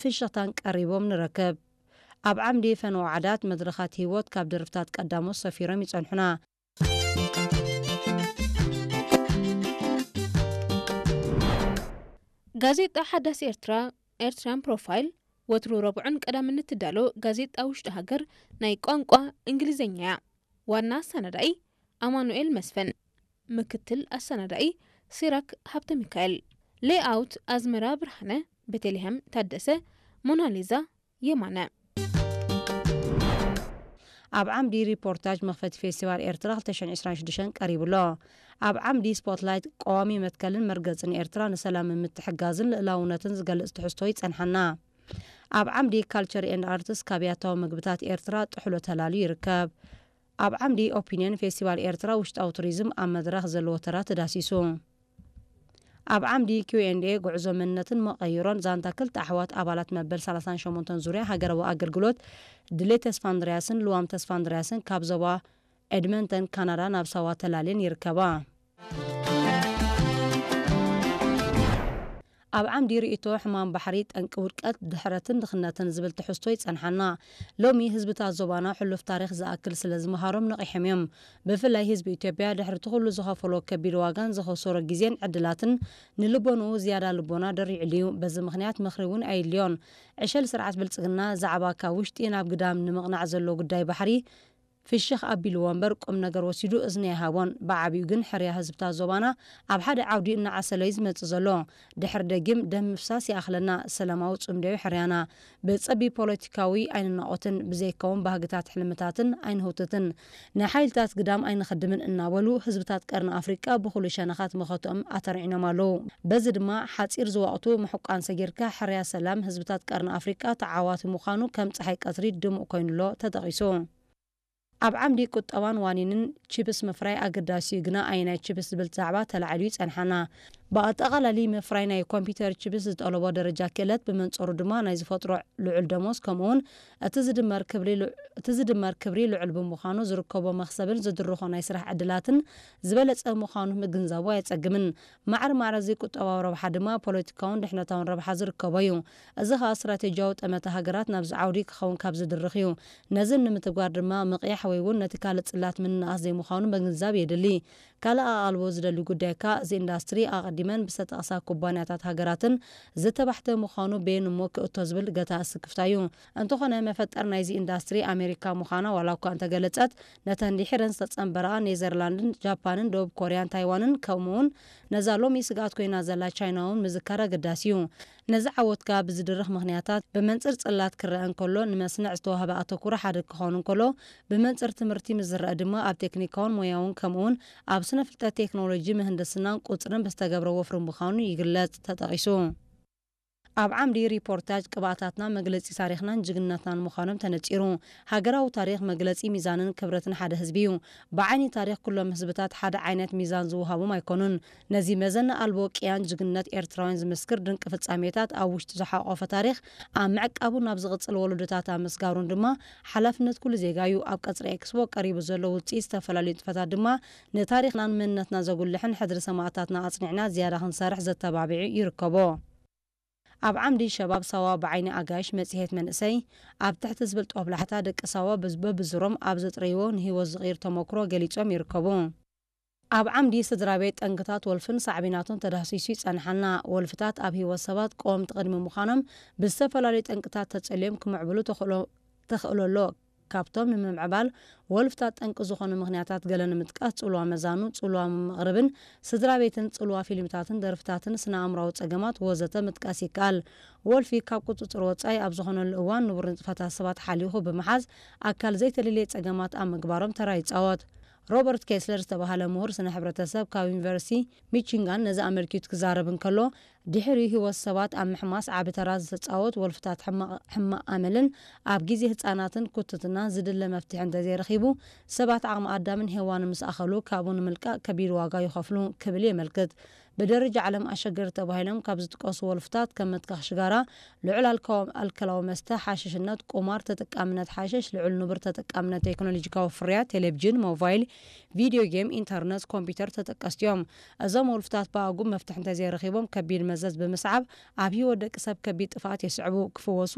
ፍሽኽታን ቀሪቦም ንረክብ። ኣብ ዓምዲ ፈነወ ዓዳት መድረኻት ህይወት ካብ ደርፍታት ቀዳሞት ሰፊሮም ይጸንሑና። ጋዜጣ ሓዳስ ኤርትራ፣ ኤርትራን ፕሮፋይል፣ ወትሩ ረቡዕን ቀዳምን እትዳሎ ጋዜጣ ውሽጢ ሃገር ናይ ቋንቋ እንግሊዝኛ እያ። ዋና ኣሰናዳኢ ኣማኑኤል መስፍን፣ ምክትል ኣሰናዳኢ ሲራክ ሃብተ ሚካኤል፣ ሌኣውት ኣዝመራ ብርሃነ፣ ቤተልሔም ታደሰ፣ ሞናሊዛ የማነ። ኣብ ዓምዲ ሪፖርታጅ መኽፈቲ ፌስቲቫል ኤርትራ ክልተ ሽሕን ዕስራን ሽዱሽተን ቀሪቡ ኣሎ። ኣብ ዓምዲ ስፖትላይት ቀዋሚ መትከልን መርገጽን ኤርትራ ንሰላምን ምትሕጋዝን ልእላውነትን ዝገልጽ ትሕዝቶ ይጸንሓና። ኣብ ዓምዲ ካልቸር ኤንድ ኣርትስ ካብ ያታዊ ምግብታት ኤርትራ ጥሕሎ ተላልዩ ይርከብ። ኣብ ዓምዲ ኦፒንየን ፌስቲቫል ኤርትራ ውሽጣዊ ቱሪዝም ኣብ መድረኽ ዘለዎ ተራ ተዳሲሱ። ኣብ ዓምዲ ኪው ኤንድ ኤ ጉዕዞ መንነትን መቐይሮን ዛንታ ክልተ ኣሕዋት ኣባላት መበል ሰላሳን ሸሞንተን ዙርያ ሃገራዊ ኣገልግሎት ድሌት ተስፋ እንድርያስን ልዋም ተስፋ እንድርያስን ካብ ዞባ ኤድመንተን ካናዳ ናብ ሳዋ ተላልየን ይርከባ። ኣብ ዓምዲ ርእይቶ ሕማም ባሕሪ ጠንቂ ውድቀት ድሕረትን ድኽነትን ዝብል ትሕዝቶ ይጸንሓና። ሎሚ ህዝብታት ዞባና ሕሉፍ ታሪኽ ዝኣክል ስለ ዝመሃሮም ነቒሖም እዮም። ብፍላይ ህዝቢ ኢትዮጵያ ድሕሪ እቲ ኩሉ ዝኸፈሎ ከቢድ ዋጋን ዝኸሰሮ ግዜን ዕድላትን ንልቦንኡ ዝያዳ ልቦና ደሪዕሉ እዩ። በዚ ምኽንያት ምኽሪ እውን ኣየድልዮን። ዕሸል ስርዓት ብልጽግና ዛዕባ ካብ ውሽጢ ናብ ግዳም ንምቕናዕ ዘሎ ጉዳይ ባሕሪ ፍሽኽ ኣቢልዎ እምበር ቁም ነገር ወሲዱ እዝኒ ኣይሃቦን። ብዓቢኡ ግን ሕርያ ህዝብታት ዞባና ኣብ ሓደ ዓውዲ እናዓሰሎ እዩ ዝመጽእ ዘሎ። ድሕሪ ደጊም ደም ምፍሳስ ይኣኽለና፣ ሰላማዊ ጽምዶ እዩ ሕርያና። ብጸቢብ ፖለቲካዊ ኣይንናቖትን፣ ብዘይከውን ባህግታት ሕልምታትን ኣይንህውትትን። ንሓይልታት ግዳም ኣይንኸድምን እናበሉ ህዝብታት ቀርኒ ኣፍሪቃ ብኹሉ ሸነኻት መኸትኦም ኣተርዒኖም ኣለዉ። በዚ ድማ ሓጺር ዝወቕቱ ምሕቋን ሰጊርካ ሕርያ ሰላም ህዝብታት ቀርኒ ኣፍሪቃ ተዓዋቲ ምዃኑ ከም ጸሓይ ቀትሪ ድሙቕ ኮይኑሎ ተጠቒሱ። ኣብ ዓምዲ ቁጠባን ዋኒንን ቺፕስ ምፍራይ ኣገዳሲ እዩ፣ ግና ኣየናይ ቺፕስ ዝብል ዛዕባ ተላዒሉ ይጸንሓና። ብኣጠቓላሊ ምፍራይ ናይ ኮምፒውተር ቺፕስ ዝጠለቦ ደረጃ ክእለት፣ ብመንጽሩ ድማ ናይ ዝፈጥሮ ልዑል ደሞዝ፣ ከምኡውን እቲ ዝድመር ክብሪ ልዑ-፣ እቲ ዝድመር ክብሪ ልዑል ብምዃኑ ዝርከቦ መኽሰብን ዝድርኾ ናይ ስራሕ ዕድላትን ዝበለጸ ምዃኑ ምግንዛቡ ኣየጸግምን። ማዕረ ማዕረ እዚ ቁጠባዊ ረብሓ ድማ ፖለቲካውን ድሕነታውን ረብሓ ዝርከቦ እዩ። እዚ ኸኣ ስትራቴጂያዊ ጠመተ ሃገራት ናብዚ ዓውዲ ክኸውን ካብ ዝድርኽ እዩ። ነዚ ንምትግባር ድማ ምቕያሕ ወይ እውን ነቲ ካልእ ጽላት ምንእኣስ ዘይምዃኑ ምግንዛብ የድሊ። ካልእ ኣቓልቦ ዝደሊ ጉዳይ ከኣ እዚ ኢንዳስትሪ ኣቐዲመን ብዝተጠቕሳ ኩባንያታት ሃገራትን ዝተባሕተ ምዃኑ በየን እሞ ክእቶ ዝብል ገታ ስክፍታ እዩ። እንተኾነ መፈጠር ናይዚ ኢንዳስትሪ ኣሜሪካ ምዃና ዋላ እኳ እንተገለጸት፣ ነተን ድሒረን ዝተጸንበራ ኔዘርላንድን ጃፓንን ደቡብ ኮርያን ታይዋንን ከምኡውን ነዛ ሎሚ ስግኣት ኮይና ዘላ ቻይና እውን ምዝካር ኣገዳሲ እዩ። ነዚ ዓወትካ ብዝድርኽ ምኽንያታት ብመንጽር ጽላት ክረአ እንከሎ ንመስንዕ ዝተዋህበ ኣተኩሮ ሓደ ክኸውን እንከሎ ብመንጽር ትምህርቲ ምስ ዝረአ ድማ ኣብ ቴክኒካውን ሞያውን ከምኡውን ኣብ ስነ ፍልጠት ቴክኖሎጂ ምህንድስናን ቁጽርን ብዝተገብረ ወፍሪ ምዃኑ ይግለጽ ተጠቒሱ። ኣብ ዓምዲ ሪፖርታጅ ቅብኣታትና መግለጺ ታሪኽናን ጅግንነትናን ምዃኖም ተነጺሩ። ሃገራዊ ታሪኽ መግለጺ ሚዛንን ክብረትን ሓደ ህዝቢ እዩ። ብዓይኒ ታሪኽ ኩሎም ህዝብታት ሓደ ዓይነት ሚዛን ዝወሃቦም ኣይኮኑን። ነዚ መዘና ኣልቦ ቅያን ጅግንነት ኤርትራውያን ዝምስክር ድንቂ ፍጻሜታት ኣብ ውሽጡ ዝሓቖፈ ታሪኽ ኣብ ምዕቃቡን ናብ ዝቕጽል ወለዶታት ኣብ ምስጋሩን ድማ ሓላፍነት ኩሉ ዜጋ እዩ። ኣብ ቀጽሪ ኤክስፖ ቀሪቡ ዘሎ ውጽኢት ዝተፈላለዩ ንጥፈታት ድማ ንታሪኽናን መንነትና ዘጉልሕን ሕድሪ ሰማእታትና ኣጽኒዕና ዝያዳ ክንሰርሕ ዘተባብዕ ይርከቦ። ኣብ ዓምዲ ሸባብ ሳዋ ብዓይኒ ኣጋይሽ መጽሔት መንእሰይ ኣብ ትሕቲ ዝብል ጦብላሕታ ደቂ ሳዋ በዝ-፣ በብዙሮም ኣብ ዘጥረይዎ ንህይወት ዝቕይር ተመክሮ ገሊጾም ይርከቡ። ኣብ ዓምዲ ስድራ ቤት ጠንክታት ወልፍን ሳዕቤናቱን ተዳህሲሱ ይጸንሓና። ወልፍታት ኣብ ህይወት ሰባት ቀወምቲ ቅድሚ ምዃኖም ብዝተፈላለዩ ጠንቅታት ተጸልዮም ክምዕብሉ ተኽእሎ፣ ተኽእሎ ኣሎ። ካብቶም ንምምዕባል ወልፍታት ጠንቂ ዝኾኑ ምኽንያታት ገለ ንምጥቃስ ጽልዋ መዛኑ፣ ጽልዋ መቕርብን ስድራ ቤትን፣ ጽልዋ ፊልምታትን ደርፍታትን ስነ ኣእምራዊ ጸገማት ወዘተ ምጥቃስ ይከኣል። ወልፊ ካብ ቁጽጽር ወጻኢ ኣብ ዝኾነሉ እዋን ንቡር ንጥፈታት ሰባት ሓሊኹ ብምሓዝ ኣካል ዘይተለልየ ጸገማት ኣብ ምግባሮም ተራ ይጻወት። ሮበርት ኬስለር ዝተባህለ ምሁር ስነ ሕብረተሰብ ካብ ዩኒቨርሲቲ ሚቺጋን ነዚ ኣመልኪቱ ክዛረብ እንከሎ፣ ድሕሪ ህይወት ሰባት ኣብ ምሕማስ ዓቢ ተራ ዝተጻወት ወልፍታት ሕማቕ፣ ሕማቕ ኣመልን ኣብ ግዜ ህጻናትን ኩትትናን ዝድለ መፍትሒ እንተዘይረኺቡ፣ ሰባት ዓቕሚ ኣዳምን ሄዋንን ምስ ኣኸሉ ካብኡ ንምልቃቕ ከቢድ ዋጋ ይኸፍሉ ክብል የመልክት። ብደረጃ ዓለም ኣሸገርቲ ተባሂሎም ካብ ዝጥቀሱ ወልፍታት ከም መትካኽ ሽጋራ፣ ልዑል ኣልኮ- ኣልኮላዊ መስተ፣ ሓሽሽነት፣ ቁማር፣ ተጠቃምነት ሓሽሽ፣ ልዑል ንቡር ተጠቃምነት ቴክኖሎጂካዊ ፍርያት፣ ቴሌቪዥን፣ ሞባይል፣ ቪድዮ ጌም፣ ኢንተርነት፣ ኮምፒውተር ተጠቀስቲ እዮም። እዞም ወልፍታት ብኣጉብ መፍትሒ እንተዘይረኺቦም ከቢድ መዘዝ ብምስዓብ ኣብ ህይወት ደቂ ሰብ ከቢድ ጥፍኣት የስዕቡ። ክፍወሱ